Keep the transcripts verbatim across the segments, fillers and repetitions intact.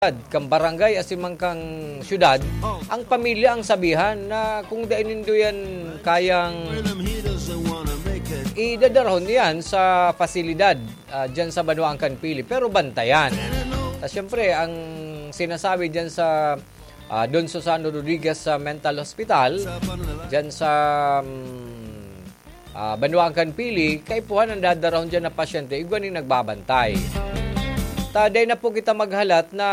kan barangay asin man kan syudad, ang pamilya ang sabihan na kung dai nindo yan kayang idadarahon yan sa pasilidad, ah, dyan sa banwaan kan Pili. Pero bantayan. Ah, siyempre, ang sinasabi dyan sa, ah, Don Susano Rodriguez sa Mental Hospital, dyan sa, mm, ah, banwaan kan Pili, kaipuhan ang dadarahon dyan na pasyente, igwa ning nagbabantay. Ta, dai na po kita maghalat na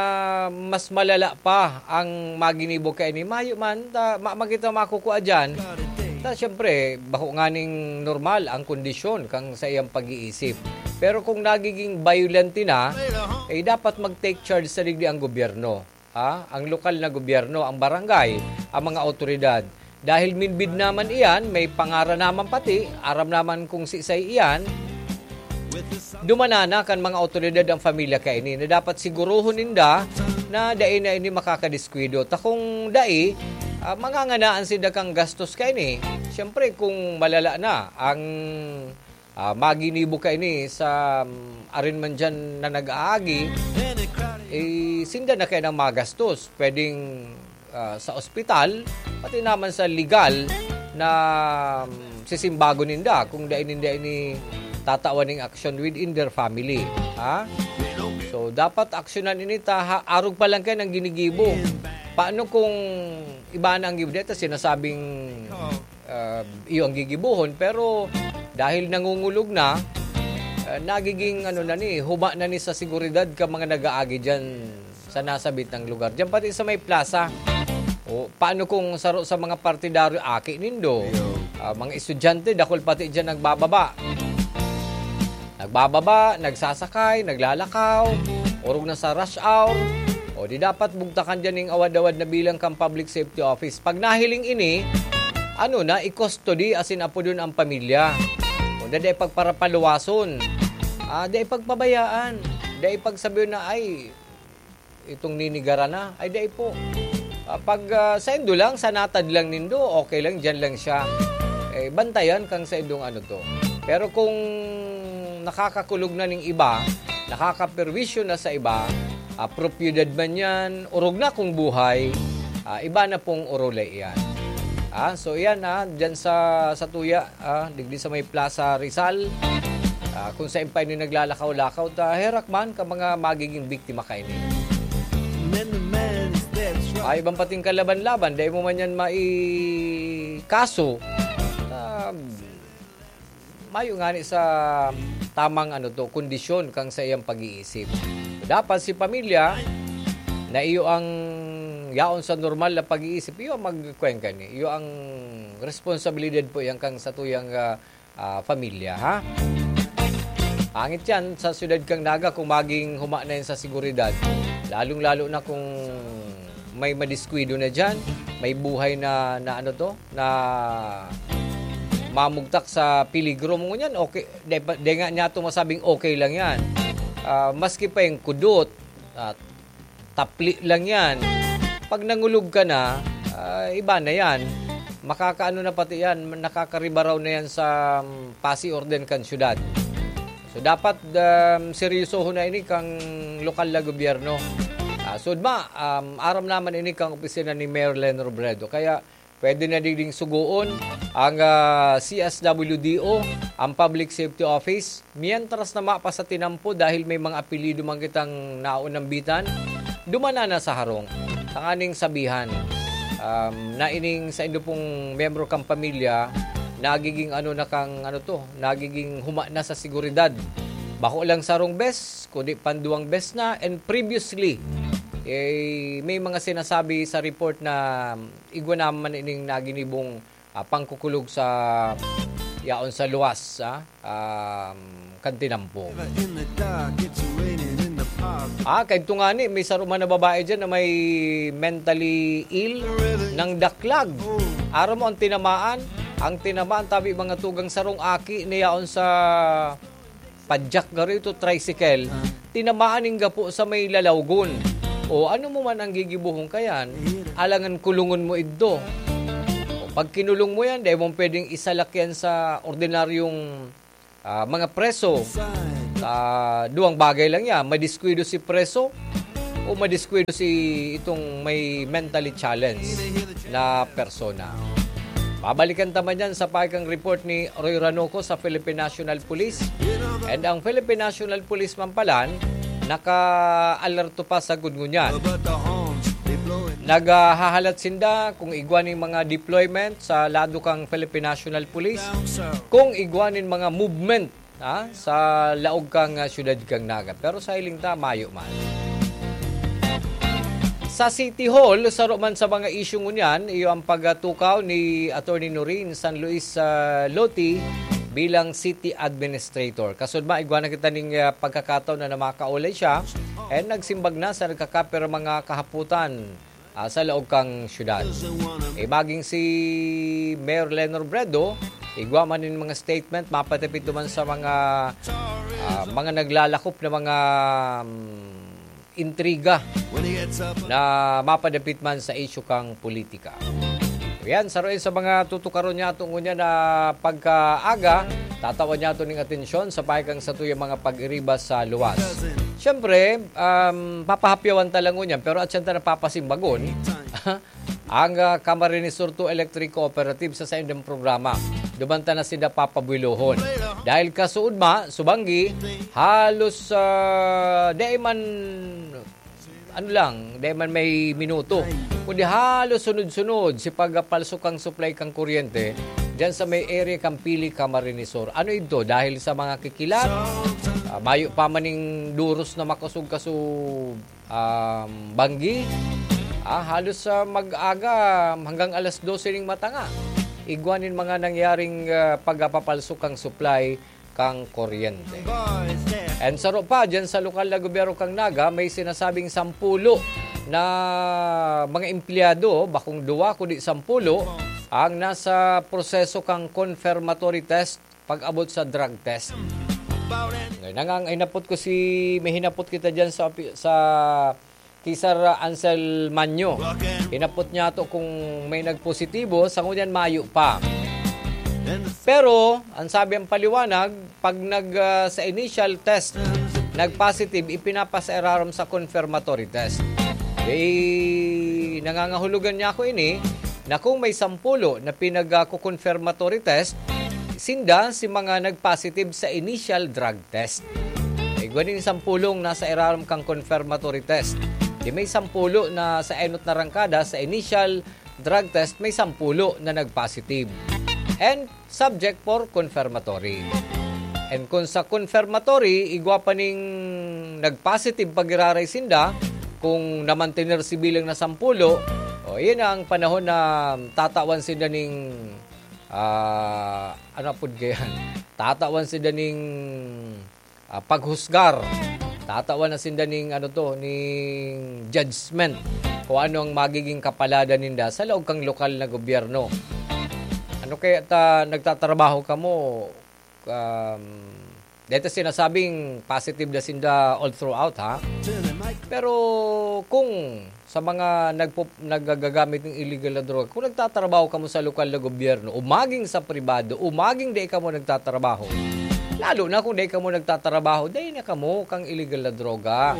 mas malala pa ang maginibo kaini. Mayo man, ta, ma-, ma-, kita makukua dyan. Ta, siyempre, bako nganing normal ang kondisyon kang sa iyang pag-iisip. Pero kung nagiging violent na, eh, dapat mag-take charge sa digdi ang gobyerno. Ha? Ang lokal na gobyerno, ang barangay, ang mga awtoridad. Dahil minbid naman iyan, may pangaran naman pati, aram naman kung siisay iyan, dumanana kan mga awtoridad ang pamilya kaini na dapat siguruhon ninda na dai na ini makakadiskuido. Ta kung dai, ah, manganganaan sinda kan gastos kaini. Siyempre, kung malala na ang, ah, maginibo kaini sa, um, arin man diyan na nag-aagi, eh, sinda na kaya nang magastos. Pwedeng, ah, sa ospital, pati naman sa legal na, um, sisimbagon ninda kung dai ninda ini tatawan ning aksyon within their family. Ha? So, dapat aksyonan ini ta ha-, arog pa lang kayan ang ginigibo. Paano kung iba na ang gibo? Dito sinasabing, ah, iyo ang gigibohon, pero dahil nangungulog na, ah, nagiging ano na ni, huma na ni sa seguridad ka mga nag-aagi diyan sa nasabit ng lugar. Diyan pati sa may plaza. O, paano kung saro sa mga partidaryo aki nindo? Iyo. Ah, mga estudyante, dakul pati diyan nagbababa. Nagbababa, nagsasakay, naglalakaw, orog na sa rush hour. O di dapat bugtakan diyan ning awad-awad na bilang kan Public Safety Office. Pag nahiling ini, ano na, i-custody asin apodon ang pamilya. Kung dai pagparapaluwason, ah, dai pagpabayaan, dai pagsabihon na, "Ay, itong ninigaran na." Ay, dai po. Ah, pag, ah, saindo lang, sa natad lang nindo, okay lang, diyan lang siya. Eh, bantayan kang saindong ano to. Pero kung nakakakulog na ning iba, nakakaperwisyo na sa iba, ah, propiedad man yan, orog na kung buhay, ah, iba na pong orolay iyan. Ah, so iyan, ah, dyan sa, sa tuya, ah, digdi sa may Plaza Rizal, ah, kung saan pa ini naglalakaw-lakaw, ta herak man ka mga magiging biktima kaini. Ay, ibang pating kalaban-laban, dai mo man yan maikaso. Ah, mayo ngani sa tamang, ano to, kondisyon kang sa iyang pag-iisip. Dapat si pamilya, na iyo ang yaon sa normal na pag-iisip, iyo ang magkuweng kani. Iyo ang responsibilidad po yan kang sa tuyang, ah, ah, pamilya, ha? Angit yan sa siyudad kang Naga kung maging huma na yan sa seguridad. Lalong-lalo na kung may madiskuido na dyan, may buhay na, na ano to, na mamugtak sa peligro mo ngunyan, okay, di, pa- di nga niya to masabing okay lang yan. Ah, maski pa yung kudot, at tapli lang yan. Pag nangulog ka na, ah, iba na yan. Makakaano na pati yan, nakakaribaraw na yan sa, um, pasi orden kan syudad. So, dapat, um, seryosohon na ini kang lokal na gobyerno. Ah, sud ma, um, aram naman ini kang opisina ni Mayor Len Robredo. Kaya, pwede na digding sugoon ang, ah, C S W D O, ang Public Safety Office. Mientras na mapa sa tinampo dahil may mga apelyido man kitang naunambitan, dumana na sa harong. Tanganing sabihan, um, na ining sa indo pong miyembro kang pamilya, nagiging ano na kang, ano to, nagiging huma na sa seguridad. Bako lang sarong bes, kundi panduwang bes na, and previously, eh, may mga sinasabi sa report na igwa naman ining naginibong, ah, pangkukulog sa yaon sa luwas, ah, um, kan tinampo. Ah, kaidto ngani, may saro man na babae dyan na may mentally ill ng daklag. Aram mo ang tinamaan? Ang tinamaan, tabi mga tugang sarong aki na yaon sa padyak garo ito, tricycle, tinamaan ning gapo sa may lalawgon. O ano mo man ang gigibuhon kayan, alangan kulungon mo idto. O pag kinulong mo yan, dai mo pwedeng isalak yan sa ordinaryong, ah, mga preso. Ah, duwang bagay lang yan. Madiskuido si preso, o madiskuido si itong may mentally challenged na persona. Babalikan ta man yan sa paikang report ni Roy Ranoco sa Philippine National Police. And ang Philippine National Police man palan, naka-alerto pa sa gud ngunyan. Naghahalat sinda kung igwa nin mga deployment sa lado kang Philippine National Police, kung igwa nin mga movement, ah, sa laog kang, ah, siyudad kang Naga. Pero sa hiling ta, mayo man. Sa City Hall, saro man sa mga isyu ngunyan, iyo ang pagtukaw ni Attorney Noreen San Luis, ah, Loti bilang city administrator. Kasudma, igwa na kita ning, ah, pagkakataon na namakaulay siya, and nagsimbag na sa nagkakapir mga kahaputan, ah, sa laog kang syudad. Eh, maging si Mayor Lenor Bredo, igwa man nin mga statement, mapatapit duman sa mga, ah, mga naglalakop na mga, mm, intriga na mapadapit man sa isyu kang politika. Yan, saroin sa mga tutukaron niya ngunyan na pagkaaga, tatawan niya ning atensyon sa paikang satuyang mga pag-iriba sa luwas. Siyempre, um, papahapyawan ta lang ngunyan, pero at siyempre napapasimbagon, ang, ah, Camarines Sur two Electric Cooperative sa saindang programa. Duman ta na sinda papabuelohon. Dahil kasuodma, subanggi, halos, ah, di man, ano lang, di man may minuto, kundi halos sunod-sunod si pagpalsok kang supply kang kuryente diyan sa may area kang Pili, Camarines Sur. Ano ito? Dahil sa mga kikilat, ah, mayo pa maning duros na makasog-kasog, um, banggi. Ah, halos sa mag-aga hanggang alas dose ning matanga, igwa nin mga nangyaring, ah, pagpapalsok kang supply kang kuryente. And saro pa, dyan sa lokal na gobyerno kang Naga, may sinasabing sampulo na mga empleyado, bakong duwa kundi sampulo, ang nasa proseso kang confirmatory test pag-abot sa drug test. Ngayon, ang, ang hinapot ko si, may hinapot kita dyan sa, sa kay Sir Ansel Manyo. Hinapot niya to kung may nagpositibo, sa ngunyan mayo pa. Pero, ang sabi ang paliwanag, pag nag, ah, sa initial test, nag-positive, ipinapasa irarom sa confirmatory test. Eh, nangangahulugan niya ako ini, na kung may sampulo na pinag-, ah, confirmatory test, sinda si mga nag-positive sa initial drug test. Igwa nin sampulong nasa irarom kang confirmatory test. Di may sampulo na sa enot na rangkada sa initial drug test, may sampulo na nag-positive. And subject for confirmatory. And kung sa confirmatory, igwa pa ning nag-positive pag-iraray sinda, kung namantener si bilang na sampulo, o, iyan ang panahon na tatawan sinda ning, ah, ano apod kaya? Tatawan sinda ning, ah, paghusgar. Tatawan na sinda ning, ano to, ning judgment kung ano ang magiging kapaladan ninda sa laog kang lokal na gobyerno. Ano kaya ta nagtatrabaho kamo? Um, dito sinasabing positive na sinda all throughout, ha? Pero kung sa mga nagpo-, nagagagamit ng illegal na droga, kung nagtatrabaho kamo sa lokal na gobyerno, o maging sa pribado, o maging dai kamo nagtatrabaho, lalo na kung dai kamo nagtatrabaho, dai na kamo kang illegal na droga.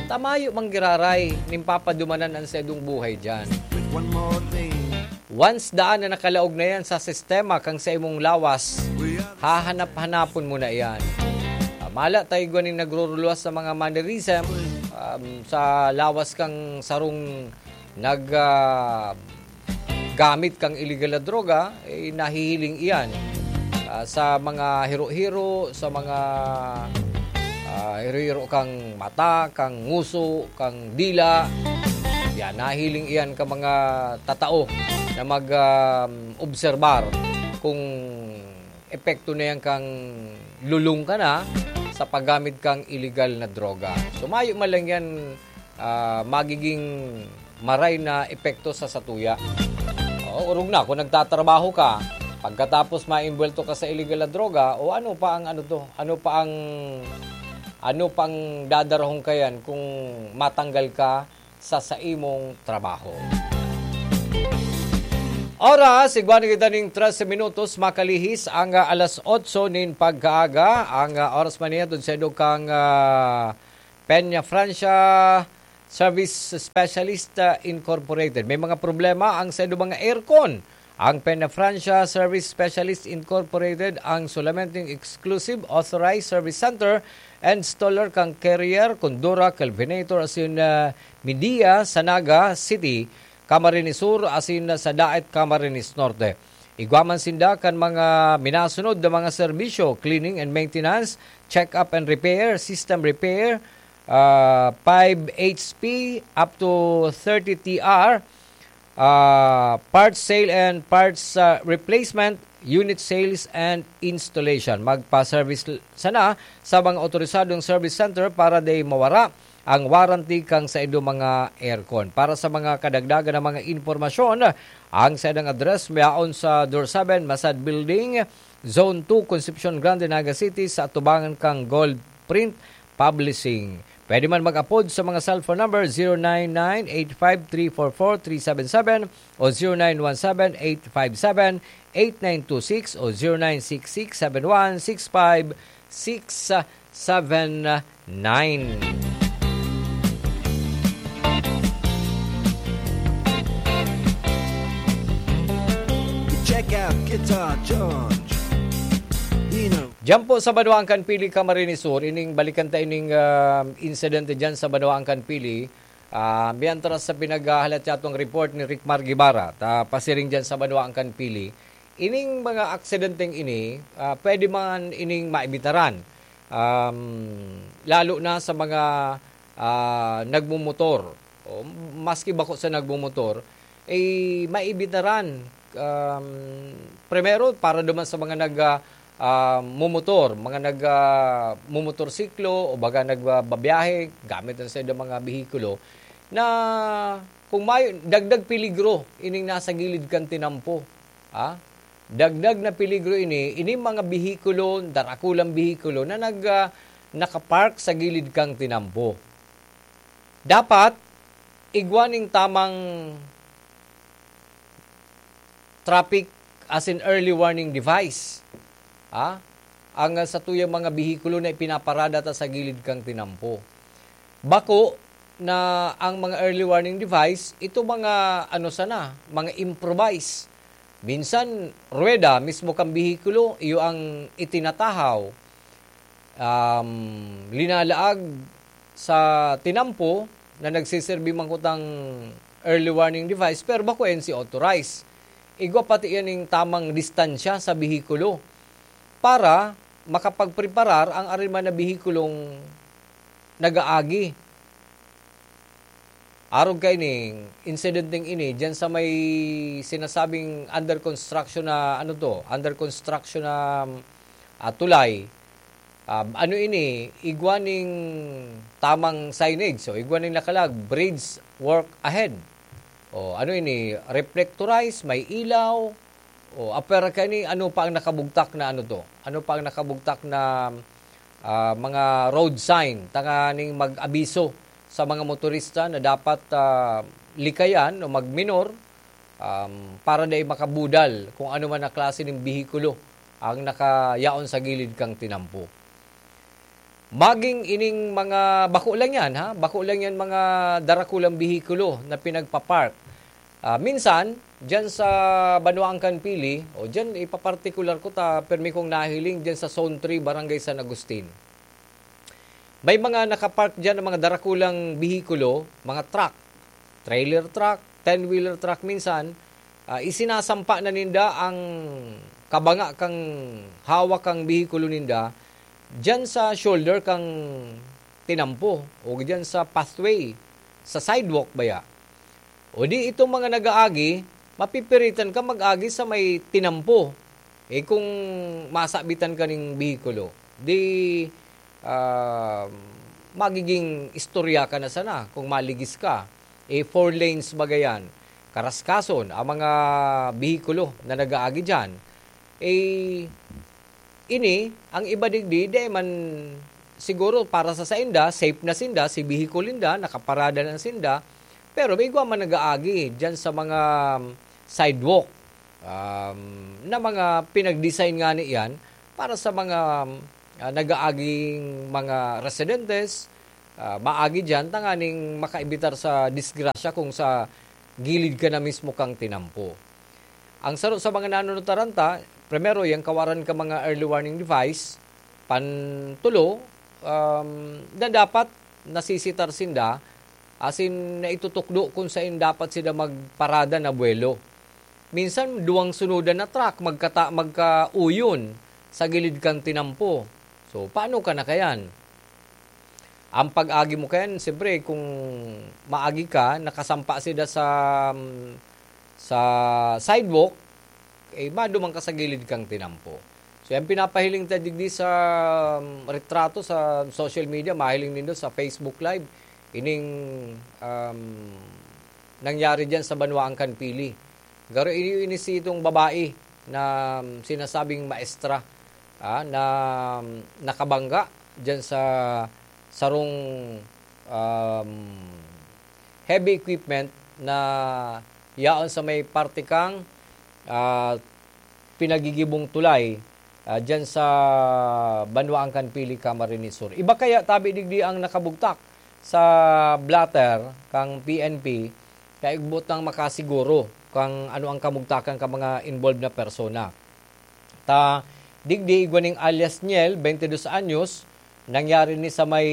Tamayo manggiraray, nin papadumanan ang sedong buhay dyan. Once daan na nakalaog na yan sa sistema kang sa imong lawas, hahanap-hanapon mo na iyan. Ah, mala tayo igwa ning nagruruluwas sa mga mannerism, um, sa lawas kang sarong nag, ah, gamit kang illegal na droga, eh, nahihiling iyan, ah, sa mga hiro-hiro, sa mga, ah, hiro-hiro kang mata, kang nguso, kang dila. Yan, nahiling iyan ka mga tatao na mag, um, obserbar kung epekto na yan kang lulong ka na sa paggamit kang illegal na droga. So, mayo man lang yan, ah, magiging maray na epekto sa satuya. Oo, orog na kung nagtatrabaho ka, pagkatapos maimbwelto ka sa illegal na droga, o ano pa ang ano to? Ano pa ang, ano pang dadarahon ka yan kung matanggal ka sa saimong trabaho? Oras, igwa na kita ning trese minutos, makalihis ang, ah, alas otso nin pagkaaga. Ang, ah, oras man niya, dun sa idog kang, ah, Peña Francia, Service Specialist uh, Incorporated. May mga problema ang sa mga aircon. Ang Penafrancia Service Specialist Incorporated ang solamenteng exclusive authorized service center and installer kan Carrier, Condura, Kelvinator asin uh, Midia sa Naga City, Camarines Sur asin sa Daet, Camarines Norte. Igwa man sinda kan mga minasunod na mga serbisyo: cleaning and maintenance, check-up and repair, system repair, uh, five H P up to thirty T R, uh, parts sale and parts uh, replacement, unit sales and installation. Magpa-service sana sa mga otorisadong service center para di mawara ang warranty kan saindo mga aircon. Para sa mga kadagdagan na mga impormasyon, ang saindang address mayaon sa Door seven, Masad Building, Zone two, Concepcion Grande, Naga City, sa atubangan kan Gold Print Publishing. Pwede man mag-apod sa mga cellphone number zero nine nine eight five three four four three seven seven o zero nine one seven eight five seven eight nine two six o zero nine six six seven one six five six seven nine. Check out Guitar George. Diyan po sa Banwaan kan Pili, Camarines Sur, ining balikan ta ining ah, insidente diyan sa Banwaan kan Pili. Ah, mientras sa pinaghahalat sa atong report ni Rick Mar Guevara, ta pasiring diyan sa Banwaan kan Pili. Ining mga aksidenteng ini, ah, pwede man ining maibitaran. Um, lalo na sa mga ah, nagmumotor. O, maski bako sa nagmumotor, eh, maibitaran. Um, primero, para duman sa mga nag ah, ah, mumotor, mga nag ah, mumotorsiklo o baga nagbabiyahe gamit ang saindang mga behikulo, na kung may dagdag peligro ining nasa gilid kan tinampo. Ha? Dagdag na peligro ini, ini mga behikulo, darakulang behikulo na nag ah, nakapark sa gilid kan tinampo. Dapat igwa ning tamang traffic as in early warning device. Ha? Ang ah, satuyang mga behikulo na ipinaparada ta sa gilid kan tinampo. Bako na ang mga early warning device, ito mga ano sana, mga improvise. Minsan, ruweda mismo kan behikulo, iyo ang itinatahaw. Um, linalaag sa tinampo na nagsiserbi man kutang early warning device, pero bako N C authorized. Igwa pati yan yung tamang distansya sa behikulo para makapagpreparar ang ariman na behikulong nag-aagi. Arog kaini, insidenteng ini, diyan sa may sinasabing under construction na, ano to, under construction na ah, tulay, ah, ano ini, igwa ning tamang signage. So, igwa ning nakalag, bridge work ahead. O, ano ini, reflectorize, may ilaw. O, apwera kaini, ano pa ang nakabugtak na ano to? Ano pa ang nakabugtak na ah, mga road sign tanganing mag-abiso sa mga motorista na dapat ah, likayan o magminor um, para dai makabudal kung ano man na klase ng behikulo ang nakayaon sa gilid kang tinampo. Maging ining mga, bako lang yan ha, bako lang yan mga darakulang behikulo na pinagpapark. Ah, minsan, dyan sa Banwaan kan Pili, o dyan ipapartikular ko ta, permi kong nahiling dyan sa Zone three, Barangay San Agustin. May mga nakapark dyan ng mga darakulang behikulo, mga truck, trailer truck, ten-wheeler truck minsan, ah, isinasampa na ninda ang kabanga kang hawak kang behikulo ninda dyan sa shoulder kang tinampo o dyan sa pathway, sa sidewalk baya. O di itong mga nag-aagi, mapipiritan ka mag-agi sa may tinampo. Eh kung masabitan ka ning behikulo, di ah, magiging istorya ka na sana kung maligis ka. Eh, four lanes baga yan. Karaskason, ang mga behikulo na nag-aagi dyan. Eh, ini, ang iba digdi, di man siguro para sa sainda, safe na sinda, si behikulo ninda, nakaparada na sinda, pero may igwa man nag-aagi dyan sa mga sidewalk um, na mga pinag-design nga niyan para sa mga ah, nag-aaging mga residentes, ah, maagi diyan tanganing makaibitar sa disgrasya kung sa gilid ka na mismo kang tinampo. Ang saro sa mga nanunutaran ta, primero, yang kawaran ka mga early warning device, pantulo, um, na dapat nasisitar sinda, asin naitutukdo kung sain dapat sila magparada na buwelo. Minsan, duwang sunodan na truck magkata-, magkauyon sa gilid kan tinampo. So, paano ka na kayan? Ang pag-agi mo kayan, siyempre, kung maagi ka, nakasampa sila sa, sa sidewalk, eh, maduman ka sa gilid kang tinampo. So, yan pinapahiling ta digdi sa, um, retrato sa social media, mahiling nindo sa Facebook Live. Ining, um, nangyari diyan sa Banwaan kan Pili. Garo ini, ini si itong babae na, um, sinasabing maestra, ah, na, um, nakabangga diyan sa sarong, um, heavy equipment na yaon sa may parte kang, ah, pinagigibong tulay, ah, diyan sa Banwaan kan Pili, Camarines Sur. Iba kaya tabi digdi ang nakabugtak sa blotter kang P N P, kaya igboot nang makasiguro kang ano ang kamugtakan ka mga involved na persona. Ta, digdi igwa ning alias Niel, twenty dos anyos, nangyari ni sa may,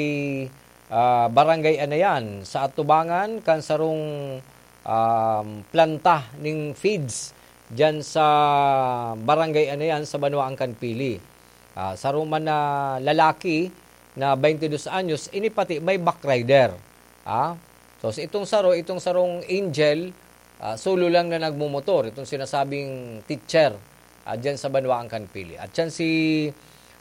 ah, Barangay Anayan, sa atubangan kan sarong, um, planta ning feeds diyan sa Barangay Anayan sa Banwaan kan Pili. Ah, saro man na lalaki na twenty dos anyos, ini pati may backrider. Ah, so, sa itong saro, itong sarong Angel, ah, solo lang na nagmumotor, itong sinasabing teacher, ah, diyan sa Banwaan kan Pili. At siyan si,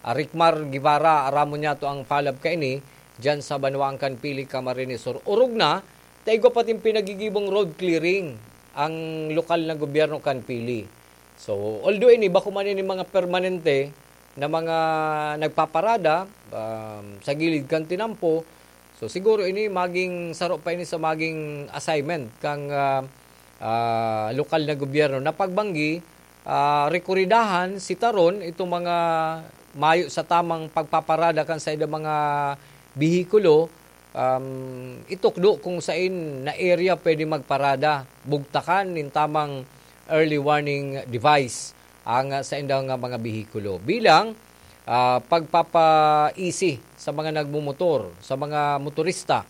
ah, Ricmar Guevara, aramon niya to ang follow-up kaini, diyan sa Banwaan kan Pili, Camarines Sur. Orog na, ta igwa pating pinagigibong road clearing ang lokal na gobyerno kan Pili. So, although ini, bako man ini mga permanente na mga nagpaparada, um, sa gilid kan tinampo, so siguro ini maging saro pa ini sa maging assignment kang, ah, ah, lokal na gobyerno na pagbanggi, ah, rekuridahan, sitaron itong mga mayo sa tamang pagpaparada kan saindang mga behikulo, um, itukdo kung sain na area pwede magparada, bugtakan nin tamang early warning device ang, ah, saindang, ah, mga behikulo. Bilang, ah, pagpapa-easy sa mga nagmumotor, sa mga motorista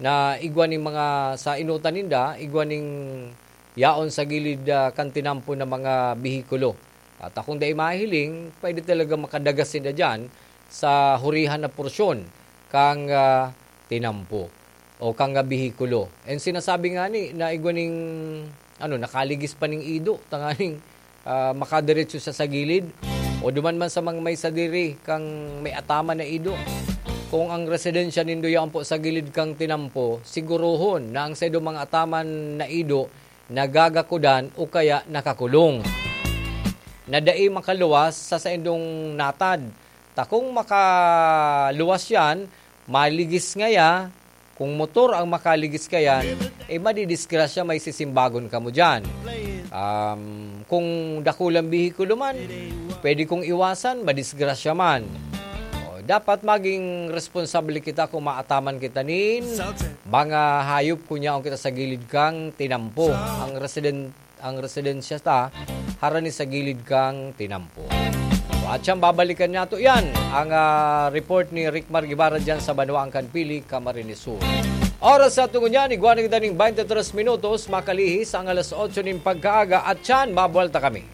na igwa ning mga, sa inutan ninda, igwa ning yaon sa gilid, ah, kan tinampo na mga behikulo. At kung dai mahiling, pwede talaga makadagas sinda diyan sa hurihan na porsyon kang, ah, tinampo o kang, ah, behikulo. And sinasabi nga ni na igwa ning, ano, nakaligis pa ning ido, tanganing, ah, makadiretso siya sa gilid. O duman man sa mga may sadiri kang may ataman na ido. Kung ang residensya nindo yan po sa gilid kang tinampo, siguruhon na ang saindo mga ataman na ido nagagakudan o kaya nakakulong, na dai makaluwas sa saindong natad. Ta kung makaluwas yan, maligis ngaya, kung motor ang makaligis kayan, eh, madidisgrasya, may sisimbagon kamo diyan. Um, kung dakulang behikulo man, pwede kong iwasan, madisgrasya man. O, dapat maging responsable kita kung maataman kita nin mga hayop kung yaon kita sa gilid kang tinampo. Ang residen-, ang residensya ta, harani sa gilid kang tinampo. At siyang babalikan nato yan, ang, ah, report ni Rick Margibara dyan sa Banwaan kan Pili, Camarines Sur. Oras sa tungo niyan, igwa na kita ning twenty-three minutos, makalihis ang alas otso ning pagkaaga, at siyan, mabuwalta kami.